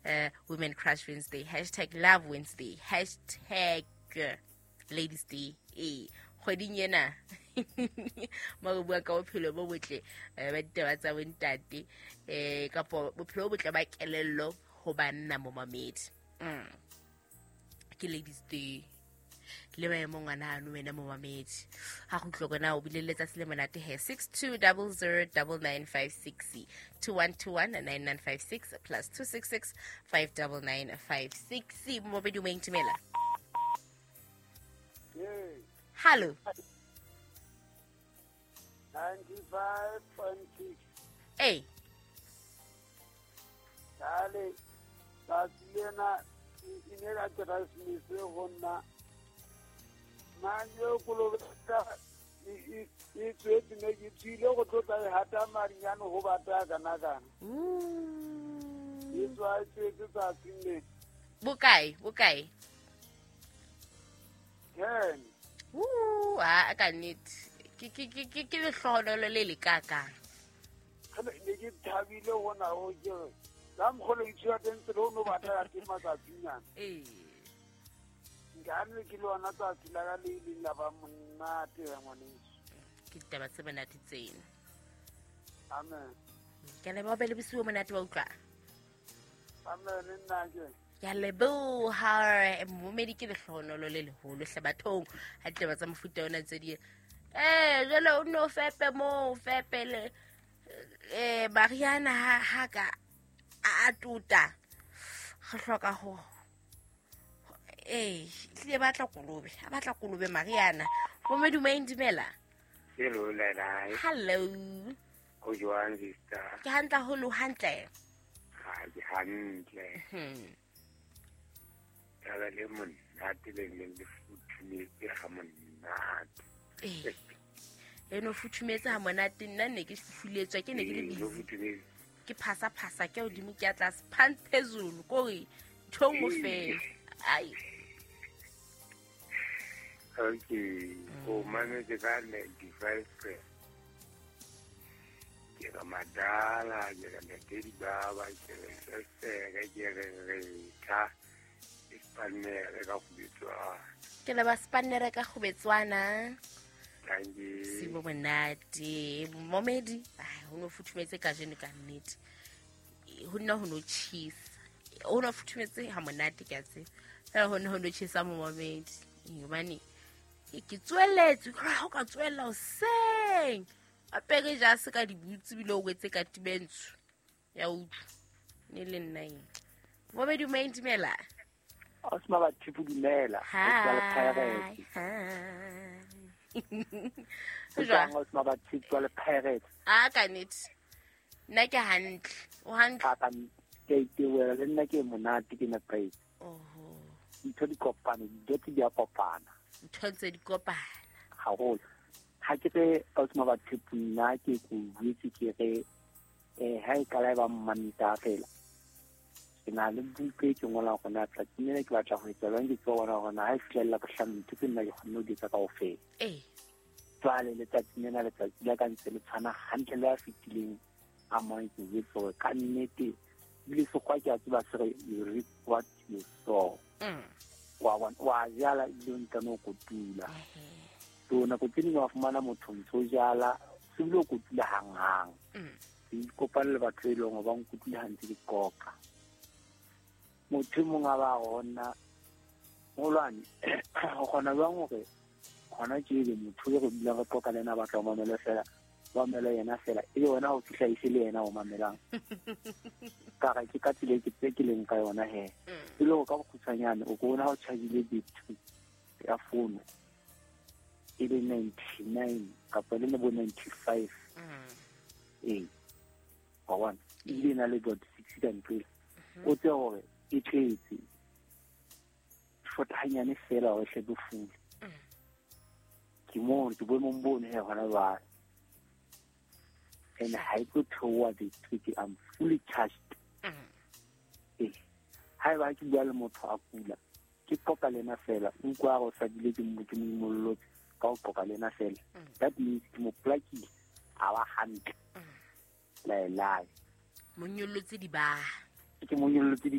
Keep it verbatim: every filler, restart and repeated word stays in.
uh, Women Crush Wednesday, hashtag Love Wednesday, hashtag Ladies Day. Ee, kgweding ena mo re bua ka bophelo bo botle ba ditaba tsa bontate, um kapo bophelo bo botle ba kelello ho banna momamedi. Mm. Ke Ladies Day le maemo ngwana ano wena momamedi. Ha go utlwa kona o bile letsatsi le monate he. Six two double zero double nine five six two one two one nine nine five six plus two six six five double nine five six. Momamedi o mo intimela. Hello. ninety-five point six. Hey. Dale, tsatsi lena e ne ka Keresemese go nna. Manje kolobetsa e e tswetse ne ke tswile go tlotla e hata madinyane ho bata kana kana. E tswa e tswetse tsatsing le. Bokae, bokae? Ten. Ooh, ah ka nnete. Ke ke ke ke ke lehlohonolo le le kakang. Ne ke thabile hona ho ke re la mokgolo ithuta teng tsela o no batla ya teng matsatsinyana. Ee. Nkane ke le ona tsatsi la ka le ileng la ba monate ya ngwaneso. Ke ditaba tse monate tsena. Amen. Ke a leboha, be le bosiu bo monate wa utlwa. Amen nna ke. Ke a leboha momedi, ke lehlohonolo le leholo hle bathong ha ditaba tsa mofuta ona tse di. Eh, jwale o no fepe moo, fepe le eh Mariana ha ha ka a tuta. Re hloka ho eh tlile batla kolobe, a batla kolobe Mariana. Momedi o indimela. Hello Lelai. Hello. Ho jwang sister? Ke hantle haholo, hantle. Ha ke hantle. Hmm. Taba le monate le le le futhumetse ha monate. Eh. Eno futhumetse ha monate, nna ne ke fufuletswa, ke ne ke le busy. Ke phasa phasa ke hodimo ke ya tlase, phansi phezulu kore ntho nngwe fela. Ai. Okay, o mametse ka ninety-five. Ke re madala, ke re ntate baba, ke re sesere, ke re retha. Spanere ka kgubetswana. Ke leba spanere ka kgubetswana. Thank you. Sibo monate. Momedi, ai ho no futhumetse kajeno ka nnete. Ho nna ho no tjhisa. Ho no futhumetse ha monate ke a tseba. Fela ho nna ho no tjhisa momedi. Hobane ke tsweletse, ha o ka tswella hoseng. Apere jase ka dibutse bile o wetse ka tibentsho. Ya utlwa. Ne le nna eng. Momedi o maintimela. Osma ba thipu dumela. Hi. Hi. Jwang Osma ba thipu le Pirates. Ah ka nnete. Nna ke hantle. O hantle. Ka ke itewela le nna ke monate ke na praise. Oho. Ntho di kopana, dilo di a kopana. Ntho tse di kopana. Haholo. Ha ke re Osma ba thipu nna ke go buitse ke re eh ha e kala ba mmanta fela. Ke na le buka e ke ngolang gona tsatsing lena ke batla ho etsa jwang, ke tseba bona hore na ha e fihlella bohlano ntho tse nna ke kgonne ho di etsa kaofela. Ee. Jwale letsatsing lena letsatsi la ka ntse le tshwana hantle le a fetileng a mang ke jwetse hore ka nnete ebile sekgwa ke a tseba se re you reap what you sow. Mm. Wa bona, wa jala ebile o ntano o kotula. So nako tse ding wa fumana motho ntso o jala se bile o kotula hanghang. Mm. Ke ikopane le batho e leng hore ba nkotule ha ntse ke qoqa. Motho e mong a ba gona molwane go kgona jwang hore hona tje ebe motho e re dulang re qoqa le yena a batla ho mamela fela, ba mamela yena fela, ebe wena ha o fihla e se le yena o mamelang. Ka re ke ka tsela e ke tse ke leng ka yona he. E le hore ka bokgutshwanyane o ko bona ha o charge-ile battery ya fono e le ninety-nine kapa le bo ninety-five. Ee. Wa bona, ebile e na le dot six ka ntle. O tsebe hore e tletse short hanyane fela hore hle bo fule. Ke mo ke boemong bono he hona jwale. And ha e tlo theoha battery, I'm fully charged. Ee. Haeba ke bua le motho a kula, ke qoqa le yena fela, o utlwa hore o sa bile ke mo ke mo imollotse ka ho qoqa le yena fela. That means ke mo plakile a ba hantle. Lae lae. Mo nyollotse dibaha. Ke mo nyollotse dibaha.